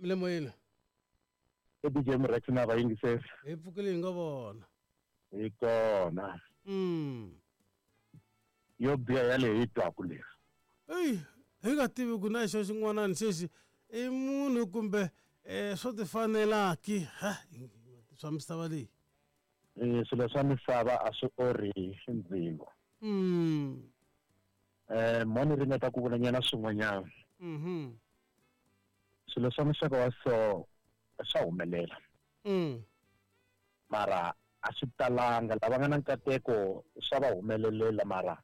Mi le moyeni. I DJ Murex na vayingiseri. Hi pfukile hi nga vona. Hi kona. Yo biha yaleyo hi twaku leyi. Eyi, hi nga tivi ku na xo xin'wanani xexi i munhu kumbe swo tifanelaki ha swa misava leyi. Swilo swa misava a swi orhi ndzilo. Mo ni ringeta ku vula nyana swin'wanyana. Swilo swa muxaka wa so swa humelela. Mara a swi talanga lava nga na nkateko swa va humelelela mara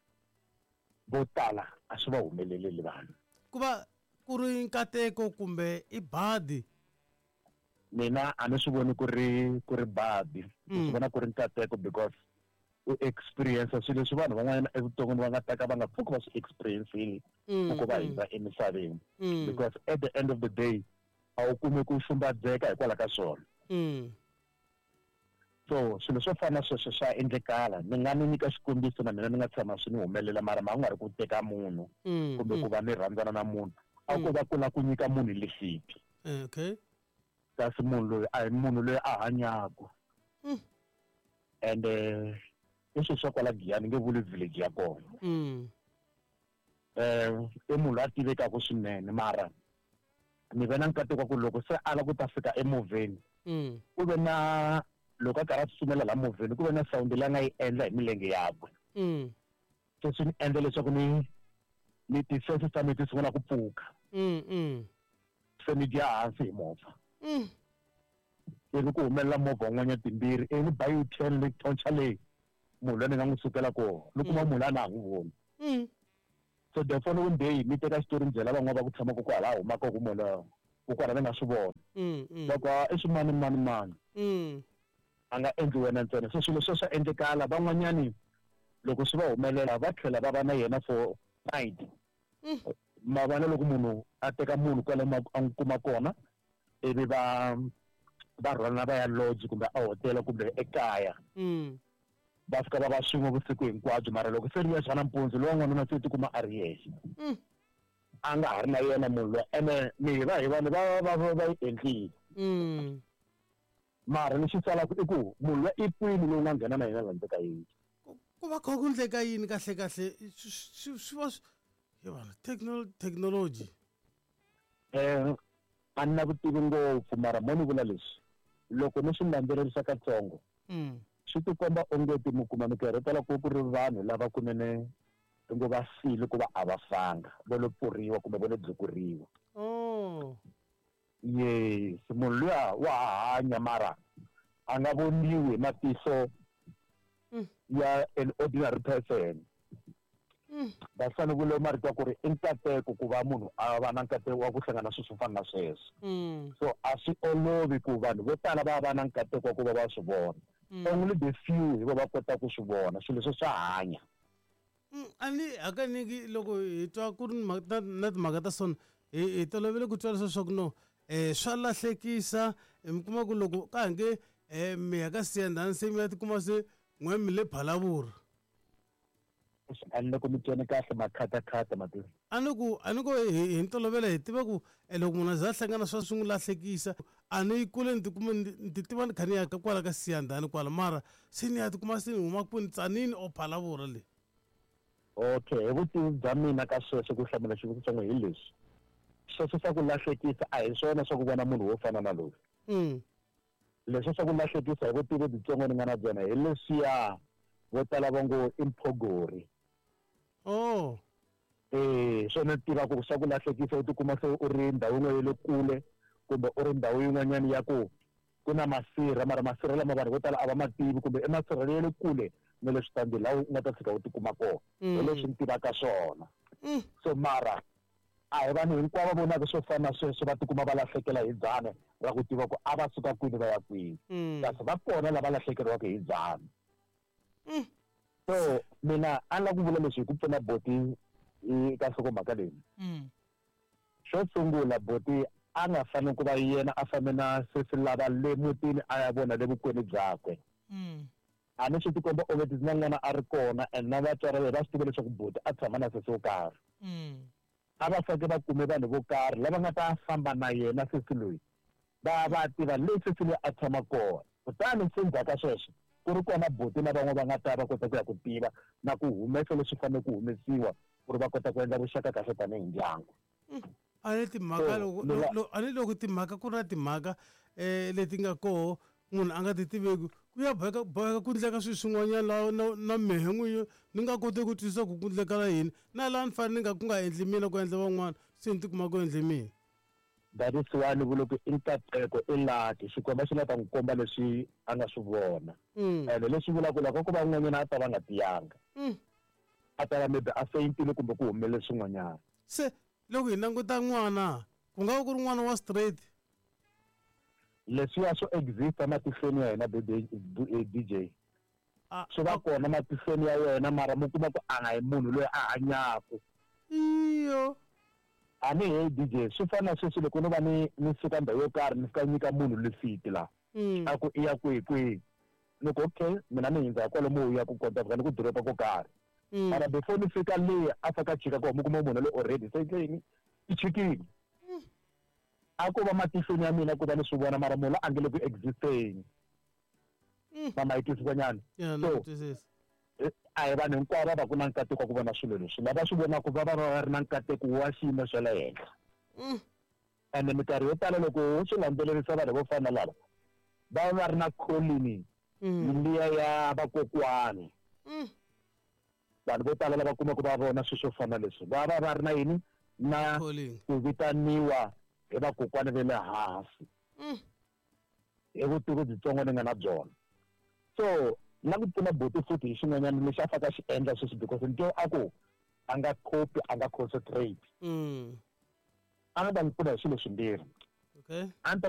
vo tala a swi va humeleleli vanhu. Ku va ku ri nkateko kumbe i badi? Mina a ni swi voni ku ri ku ri badi, ni swi vona ku ri nkateko because u experience swilo leswi vanhu van'wanyana evuton'wini va nga ta ka va nga pfuki va swi experience-ile ku va hindza emisaveni. Because at the end of the day a wu kumi ku xumbadzeka hikwalaho ka swona. So swilo swo fana na sweswo swa endlekala. Ni nga mi nyika xikombiso na mina ni nga tshama swi ni humelela mara ma ku nga ri ku teka munhu kumbe ku va ni rhandzana na munhu. A ko va ku lava ku nyika munhu lifiti. Okay. Kasi munhu loyi a hi munhu loyi a hanyaka. Ende i swilo swa kwala Giyani nge vuli village ya kona. I munhu loyi a tivekaka swinene mara ni ve na nkateko wa ku loko se a lava ku ta fika emovheni ku ve na loko a karhi a tsutsumela laha movheni ku ve na sound leyi a nga yi endla hi milenge yakwe. Se swi ni endla leswaku ni ni ti-senses ta mina ti sungula ku pfuka. Se ni dya hansi hi movha. Ivi ku humelela movha wun'wanyana timbirhi ivi ni ba U-turn ni thontsha leyi munhu loyi ni nga n'wi sukela kona ni kuma munhu loyi a na ha n'wi voni. So the following day ni teka xitori ni byela van'wana va ku tshamaka kwalaho humaka ku munhu loyi kokwala ni nga swi vona. Va ku i swimani mani mani. A nga endli wena ntsena. So swilo sweswo swa endlekala van'wanyani loko swi va humelela va tlhela va va na yena for night. Ma vona loko munhu a teka munhu kwale a n'wi kuma kona ivi va va rhwalana va ya lodge kumbe a hotela kumbe ekaya. Va fika va va swin'we vusiku hinkwabyo mara loko se ri yexe nampundzu lowa n'wanuna se tikuma a ri yexe. A nga ha ri na yena munhu loyi ene mi va hi vanhu va va va va yi endlile. Mara lexi salaka i ku munhu loyi i kwini lowu nga nghena na yena la ndzeni ka yindlu. Ku va kha ku endleka yini kahle kahle swi swi va he vanhu technology. A ni na vutivi ngopfu mara mo ni vula leswi loko ni swi landzelerisa katsongo swi tikomba onge ti mi kuma minkarhi yo tala ku ku ri vanhu lava kunene ngo va file ku va a va fanga vo lo pfuriwa kumbe vo lo dlukuriwa. Yes, munhu luya wa ha hanya mara a nga voniwi hi matihlo ya an ordinary person. That's why ni vule marito ya ku ri i nkateko ku va munhu a va na nkateko wa ku hlangana swilo swo fana na sweswo. So a swi olovi ku vanhu vo tala va va na nkateko wa ku va va swi vona. Only the few hi vo va kota ku swi vona swilo leswi swa hanya. A ni hakanyingi loko hi twa ku ri na timhaka ta sona hi tolovele ku twa leswaku no swa lahlekisa mi kuma ku loko ka ha nge mi ya ka Siyandhani se mi ya tikuma se n'we mi le Phalaborwa. A ni loko mi twene kahle makhatakhata mati. A ni ku a ni ku hi ntolovelo hi tiva ku loko munhu a za a hlangana swa swi n'wi lahlekisa a ni yi kule ni tikuma ni ti tiva ni kha ni ya kwala ka Siyandhani kwala mara se ni ya tikuma se ni huma kwini Tzaneen or Phalaborwa le. Okay hi vutivi bya mina ka sweswo ku hlamula xivutiso xa n'wina hi leswi sweswo swa ku lahlekisa a hi swona swa ku vona munhu wo fana na loyi. Leswi swa ku lahlekisa hi vutivi byitsongo ni nga na byona hi leswiya vo tala va ngo i mphogori. Oh. Swona ni tiva ku swa ku lahlekisa u tikuma se u ri ndhawu yin'wana ya le kule kumbe u ri ndhawu yin'wanyana ya ku ku na masirha mara masirha lama vanhu vo tala a va ma tivi kumbe i masirha ya le kule na le switandini laha u nga ta tshika u tikuma kona. Hi leswi ni tivaka swona. So mara a hi vanhu hinkwavo va vonaka swo fana na sweswo va tikuma va lahlekela hi dzana ra ku tiva ku a va suka kwini va ya kwini. Kasi va kona lava lahlekeriwaka hi dzana. So mina a ni lava ku vula leswi hi ku pfuna boti eka nhlokomhaka leyi. Xo sungula boti a nga fanele ku va yena a fambe na sesi lava le mutini a ya vona le vukweni byakwe. A ni swi tikomba onge ti na n'wana a ri kona and na vatswari va yena va swi tiva leswaku boti a tshama na sesi wo karhi. A va faneke va kume vanhu vo karhi lava nga ta famba na yena sesi loyi. Va tiva leswi swi a tshama kona. Kutani se ndzhaku ka sweswo ku ri kona buti na van'we va nga ta va kota ku ya ku tiva na ku humesa leswi fanele ku humesiwa ku ri va kota ku endla vuxaka kahle tanihi ndyangu. A ni timhaka loko a ni loko timhaka ku ri na timhaka leti nga koho munhu a nga ti tiveki, ku ya boheka boheka ku endleka swilo swin'wanyana laha na mehe n'winyi ni nga koti ku twisisa ku ku endlekala yini, na laha ni fanele ni nga ku nga endli mina ku endla van'wana, se ni tikuma ku endle mina. That is why ni vule ku i nkateko, i lucky. Xikwembu xi la ta n'wi komba leswi a nga swi vona. Ene leswi vulaka ku loko ko va un'wanyana a ta va nga tiyanga, a ta va maybe a faint-ile kumbe ku humelele swin'wanyana. Se loko hi languta n'wana, ku nga va ku ri n'wana wa straight? Leswiya swo exista matihlweni ya hina, DJ. Swi va kona matihlweni ya wena, mara mi kuma ku a nga hi munhu loyi a hanyaka. Iyo. A ni he DJ, swi fana na sweswi loko no va ni suka ndhawu yo karhi ni fika nyika munhu lifiti la. A ku i ya kwihi kwihi. Ni ku okay, mina ni hindza kwalomu u ya ku kota fika ni ku doroba ko karhi. Mara before ni fika le a fika chika ko mi kuma munhu loyi already se yini i chikile. A ko va matihlweni ya mina ku va ni swi vona, mara munhu a nge le ku existeni. Mama yi twisisa nyana. So a hi vanhu hinkwavo va va ku na nkateko wa ku vona swilo leswi. Lava swi vonaka va va va ri na nkateko wa xiyimo xa le henhla. Ene minkarhi yo tala loko wo swi landzelerisa vanhu vo fana na lava va va ri na calling liya ya vakokwani. Vanhu vo tala lava kumaka va vona swilo swo fana leswi va va va ri na yini na ku vitaniwa hi vakokwani va le hansi. Hi vutivi byitsongo ni nga na byona. So na ku pfuna buti futhi hi xin'wanyana lexi a fanele a xi endla sweswi, because ni twe a ku a nga copy, a nga concentrate. A nga ta n'wi pfuna hi swilo swimbirhi. A ni ta